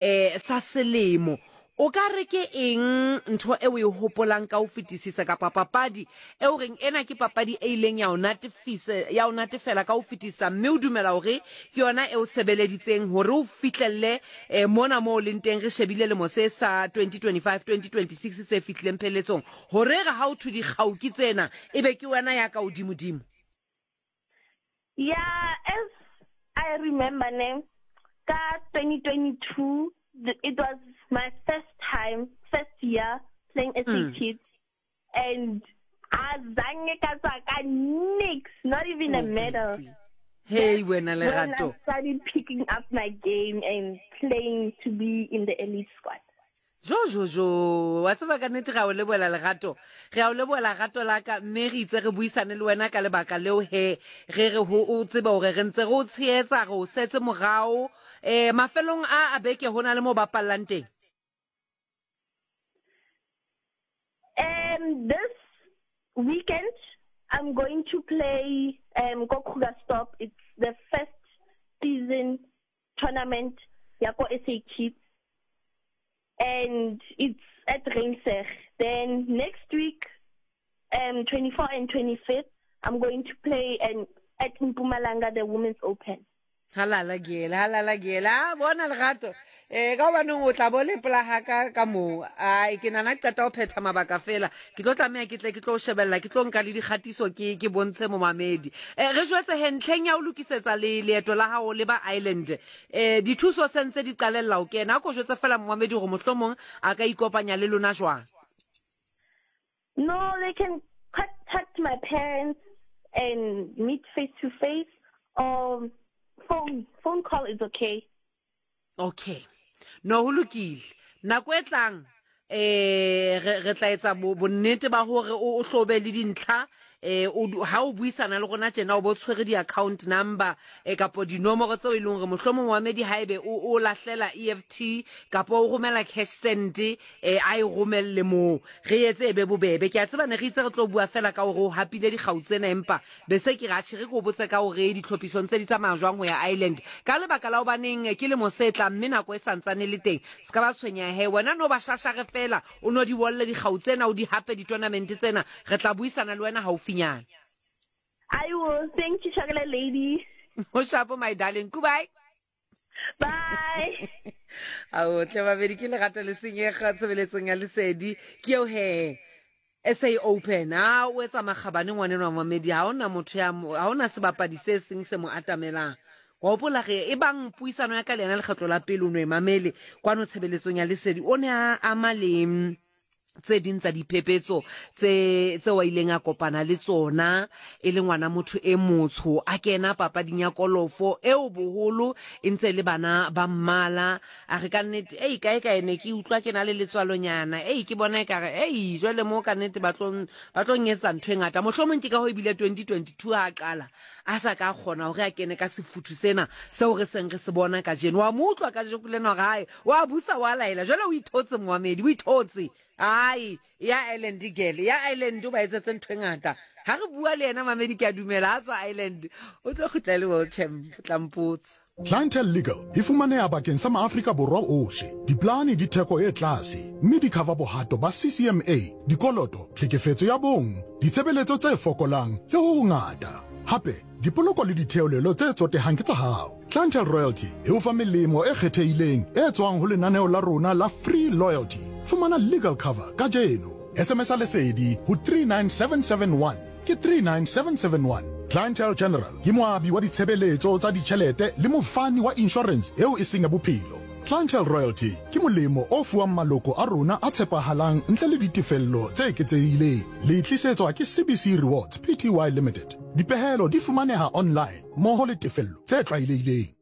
Eh, sa selemo. O ka re ke eng ntho e o e hopolang ka ho fetisisa kapa papadi e o reng ena ke papadi e ileng ya o natefisa, ya o natefela ka ho fetisisa mme o dumela hore ke yona e o sebeleditseng hore o fihlelle eh, mona moo o leng teng re shebile lemo se sa 2025 2026 se fihlileng pheletsong hore re ha o thwe dikgau ke tsena ebe ke wena ya ka hodimodimo? Yeah, as I remember ne, ka 2022, it was my first time, first year playing SA Kids. And azange ka tswa ka nix, not even a Oh, medal. baby. Hey, wena When I Lerato. started picking up my game and playing to be in the elite squad. Jo, jo, jo, wa tseba ka nnete re a o lebohela Lerato. Re a o lebohela rato la ka, mme re itse re buisane le wena ka lebaka leo he re re ho o tsebe hore re ntse re o tshehetsa, re o setse morao. Eh, mafelong a a beke ho na le mo bapallang teng? This weekend I'm going to play ko Krugersdorp. It's the first season tournament ya ko SA Kids, and it's at Ruimsig. Then next week, 24 and 25th, I'm going to play at Mpumalanga, the Women's Open. Halala Gele, halala Gele. A bona Lerato. Eh ka hobaneng o tla bo le pela ha ka ka moo. Ai ke nana ke qeta ho phetha mabaka fela. Ke tlo tlameha ke tle ke tlo shebella, ke tlo nka le dikgatiso ke ke bontshe momamedi. Eh re jwetse he ntlheng ya ho lokisetsa le leeto la hao le ba Ireland. Eh dithuso se ntse di qalella ho kena. A ko jwetse fela momamedi hore mohlomong a ka ikopanya le lona jwang. No, they can contact my parents and meet face to face or phone. Phone call is okay. Okay. No ho lokile. Nako e tlang eh re re tla etsa bonnete ba hore o hlobe le dintlha eh o ha o buisana le rona tjena o bo tshwere di-account number eh kapo dinomoro tseo e leng hore mohlomong moamedi haebe o o lahlela EFT kapo o romela cash send eh a e romelle moo re etse e be bobebe. Ke a tseba ne re itse re tlo bua fela ka hore o hapile dikgau tsena empa Be se ke re, Atjhe, re ke o botse ka hore ditlhophisong tse di tsamaya jwang ho ya Ireland. Ka lebaka la hobaneng ke lemo se tlang mme nako e sa ntsane e le teng. Se ka ba tshwenyeha he. Wena no ba shashare feela, o no di wolle dikgau tsena, o di hape ditonamente tsena. Re tla buisana le wena haufinyana. I will. Thank you, Chocolate Lady. Ho shapo, my darling. Goodbye. Bye. Ao tle babedi ke lerato le senyega tshebeletsong ya lesedi ke eo he SA Open a o etsa makgabane ngwaneno wa mamedi ha ona motho ya ha ona sebapadi se seng se mo atamelang wa hopola re e bang puisano ya ka le yena lekgetlo la pele o no e mamele kwano tshebeletsong ya lesedi o ne a ama le tse ding tsa diphephetso tse tseo a ileng a kopana le tsona e le ngwana motho e motsho a kena papading ya kolofo eo boholo e ntse e le bana ba mmala. A re ka nnete ei kae kae ne ke utlwa ke na le letswalonyana ei ke bona ekare ei jwale mo ka nnete ba tlo ba tlo nyetsa ntho e ngata. Mohlomong ke ka ho ebile 2022 ha a qala a sa ka kgona hore a kene ka sefuthu sena seo re seng re se bona kajeno. Wa mo utlwa kajeno lena hore hae wa busa wa laela jwale o ithotse moamedi o ithotse ai ya Ireland girl ya Ireland o ba etsetse ntho e ngata ha re bua le yena mamedi ke a dumela a tswa Ireland o tlo kgutla le world champ tla mpotsa. Clientele Legal e fumaneha bakeng sa maAfrika Borwa ohle. Diplane di theko e tlase mme di cover bohato ba CCMA, dikoloto, tlhekefetso ya bong, ditshebeletso tse fokolang le ho hongata. Hape, dipoloko le ditheolelo tse tsotehang ke tsa hao. Clientele Royalty e o fa melemo e kgethehileng e tswang ho lenaneo la rona la Free Loyalty. Fumana legal cover kajeno. SMS-a Lesedi ho 39771. Ke 39771. Clientele General ke moabi wa ditshebeletso tsa ditjhelete le mofani wa inshorense eo e seng ya bophelo. Clientele Royalty ke molemo o fuwang maloko a rona a tshepahalang ntle le ditefello tse eketsehileng. Le tlisetswa ke CBC Rewards Pty Limited. Dipehelo di fumaneha online mmoho le tefello tse tlwaelehileng.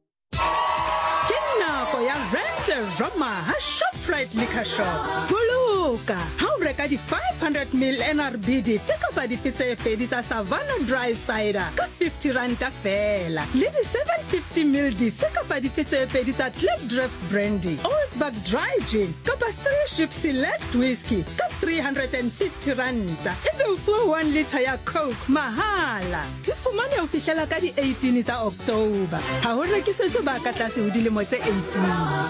Ke nako ya Rent-A-Roma ha Shoprite Liquor Shop. Boloka ha o reka di 500 ml NRB dife kapa dife tse pedi tsa Savanna Dry Cider ka 50 ranta feela le di 750 ml dife kapa dife tse pedi tsa Klipdrift Brandy, Old Buck Dry Gin kapa Three Ship Select Whisky ka 350 ranta ebe o fuwa 1 litre ya Coke mahala. Di fumane ho fihlela ka di 18 tsa October. Ha ho rekisetswe ba ka tlase ho dilemo tse 18.